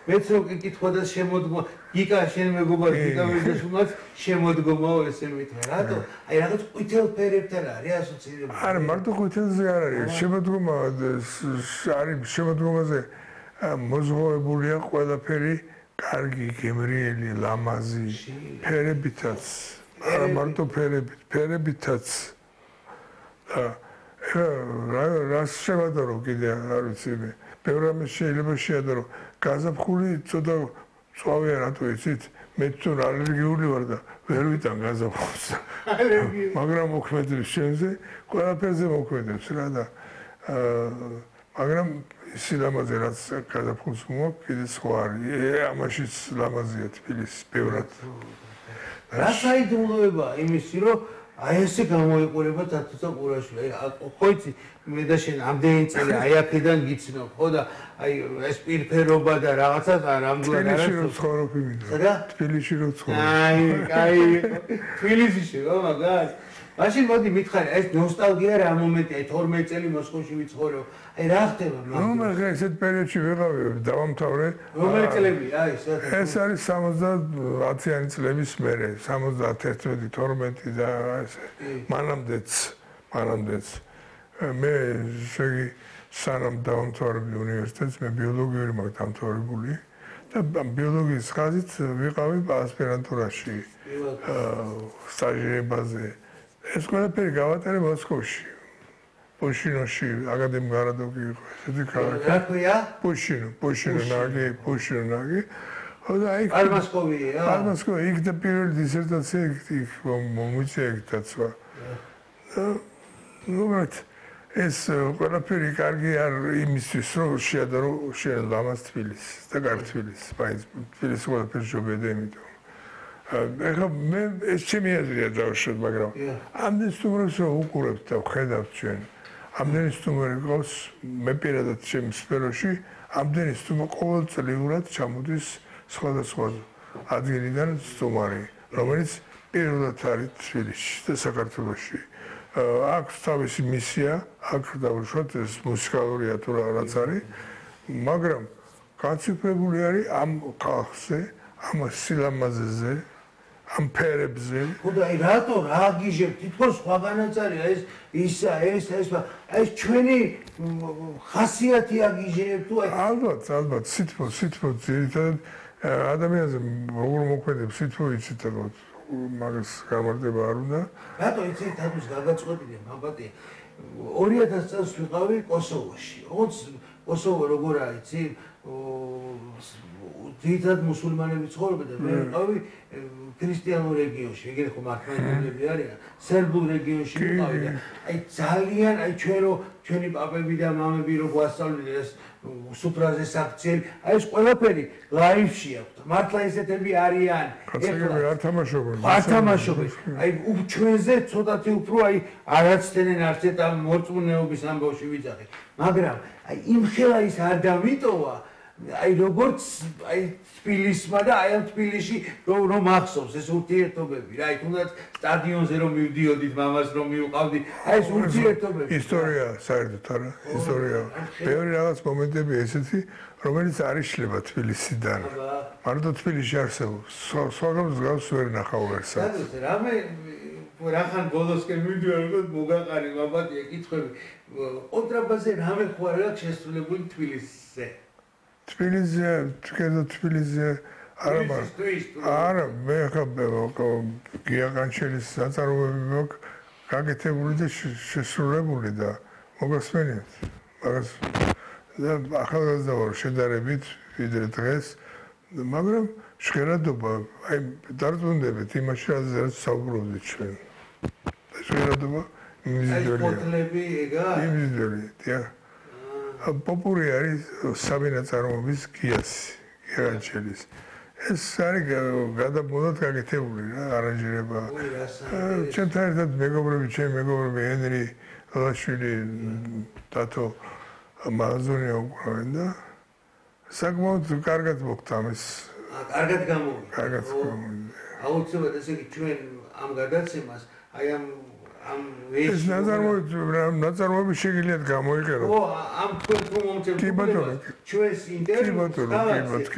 მეც რო კითხვა და შემოდგომა გიკა შენ მეგობარ გიკა ვიდაშუმაც შემოდგომაო ესე მითხრა რატო აი რაღაც ყვითელ ფერებთან არის ასოცირებული არა მარტო ყვითელზე არ არის შემოდგომა არის შემოდგომაზე მოზღუებულია ყველაფერი კარგი გემრიელი ლამაზი ფერებითაც არა მარტო ფერებითაც რას შევადარო კიდე არ ვიცი მე ბევრ რამეს შეიძლება შეადარო გაზაფხული ცოტა წვავია რატო იცით მე თუ ალერგიული ვარ და ვერ ვიტან გაზაფხულს მაგრამ მოქმედებს შენზე ყველაფერზე მოქმედებს რა და მაგრამ სილამაზე რაც გაზაფხულს მოაქვს კიდე სხვა არის ამაშიც ლამაზია თბილისი ბევრად რა საიდუმლოება იმისი რომ აი ესე გამოიყურება თათუცა ყურაშვილი ხო იცი მე და შენ ამდენი წელი აი აქედან გიცნობ ხო და აი ეს პირფერობა და რაღაცა რამგვარ არის თბილისში რო ცხოვრობ იმით რა თბილისში რო ცხოვრობ აი თბილისში რა მაგას მაშინ მოდი მითხარი ეს ნოსტალგია რა მომენტია 12 წელი მოსკოვში ვიცხოვრე აი რა ხდება მაგ ნუ მე ესეთ პერიოდში ვიყავი დავამთავრე რომელი წლებია აი ეს არის 70-იანი წლების მერე 71-12 და ესე მანამდეც მე შეგი სანამ დავამთავრებდი უნივერსიტეტს მე ბიოლოგიური მაქვს დამთავრებული და ბიოლოგიის ხაზით ვიყავი ასპირანტურაში სტაჟირებაზე ეს ყველაფერი გავატარე მოსკოვში პუშინოში აკადემიკ გარადოკი იყო ესეთი ქალაქი რა ქვია პუშინო ნაგი ხოდა აი პარმასკოვია პარმასკოვი იქ და პირველი დისერტაცია იქ მომიწია იქ დაცვა უბრალოდ ეს ყველაფერი კარგი არ იმისთვის რომ შეადარო შენ ლამაზ თბილისს და კარგ თბილისს თბილისს ყველაფერი ჯობია და იმიტომ ეხლა მე ეს ჩემი აზრია დავუშვათ მაგრამ ამდენ სტუმრებს რომ უყურებთ და ვხედავთ ჩვენ ამდენი სტუმარი ყავს მე პირადად ჩემს სფეროში ამდენი სტუმარი ყოველწლიურად ჩამოდის სხვადასხვა ადგილიდან სტუმარი რომელიც პირველად არის თბილისში და საქართველოში აქვს თავისი მისია აქ დავუშვათ ეს მუსიკალურია თუ რაღაც არის მაგრამ გაციფრებული არის ამ ხალხზე ამ სილამაზეზე ამ ფერებზე ხოდა აი რატო რა გიჟებ თითქოს სხვაგანაც არის ეს ისა ეს ჩვენი ხასიათი აგიჟებ თუ აი ალბათ სითბო ძირითადად ადამიანზე როგორ მოქმედებს სითბო იცით ალბათ მაგას გამარტება არ უნდა რატო იცი თათუს გაგაწყვეტილია მაბატი 2000 წელს ვიყავი კოსოვოში ოღონდ კოსოვო როგორ არის იცი ძირითადად მუსულმანები ცხოვრობენ და მე ვიყავი ქრისტიანულ რეგიონში, ეგრე ხო მართლმადიდებლები არიან, სერბულ რეგიონში ვიყავი და აი ძალიან აი ჩვენი პაპები და მამები რო გვასწავლდნენ ეს სუფრაზეს აქციები, აი ეს ყველაფერი ლაივში აქვს. მართლა ესეთები არიან. ეხლა არ თამაშობენ. არ თამაშობენ. აი ჩვენზე ცოტათი უფრო აი არაცდენენ არც ერთ ამ მორწმუნეობის ამბავში ვიძახი. მაგრამ აი იმ ხელა ის არ დავიტოვა აი როგორც აი თბილისმა და აი ამ თბილისში რომ ახსოვს ეს ურთიერთობები რა აი თუნდაც სტადიონზე რომ მივდიოდით მამას რომ მივყავდი აი ეს ურთიერთობები ისტორია საერთოდ არა ისტორია ბევრი რაღაც მომენტები ესეთი რომელიც არ იშლება თბილისიდან მარტო თბილისში არსებობს სხვაგანს გავს ვერ ნახავ ვერსად რამე რახან ბოლოსკენ მივდივარ რომ მოგაყარი მაბატია კითხვები კონტრაბასზე რამე ხო არ აქვს შესრულებული თბილისზე თბილისზე არა მე ხა გიაყანჩელის საწარმოები მაქვს გაკეთებული და შესრულებული და მოგასმენიათ მაგას და ახალგაზრდა ვარ შედარებით ვიდრე დღეს მაგრამ ჟღერადობა აი დარწმუნდებით იმაში რაც საუბრობდით ჩვენ ჟღერადობა ფოტლები ეგა იმისდელი პოპური არის საბინა წარმოების გიაყანჩელის ეს არის გადაბმულად გაკეთებული რა არანჟირება ჩვენთან ერთად მეგობრები ჩემი მეგობრები ენრი ლაშვილი დათო მაზონია უკრავენ და საკმაოდ კარგად მოხდა ამის კარგად გამოვიდა აუცილებლად ესე იგი ჩვენ ამ გადაცემას აი ამ ეს ნაწარმოები შეგიძლიათ გამოიყენოთ ო ამ თქვენ თუ მომწევთ ჩვენს ინტერვიუს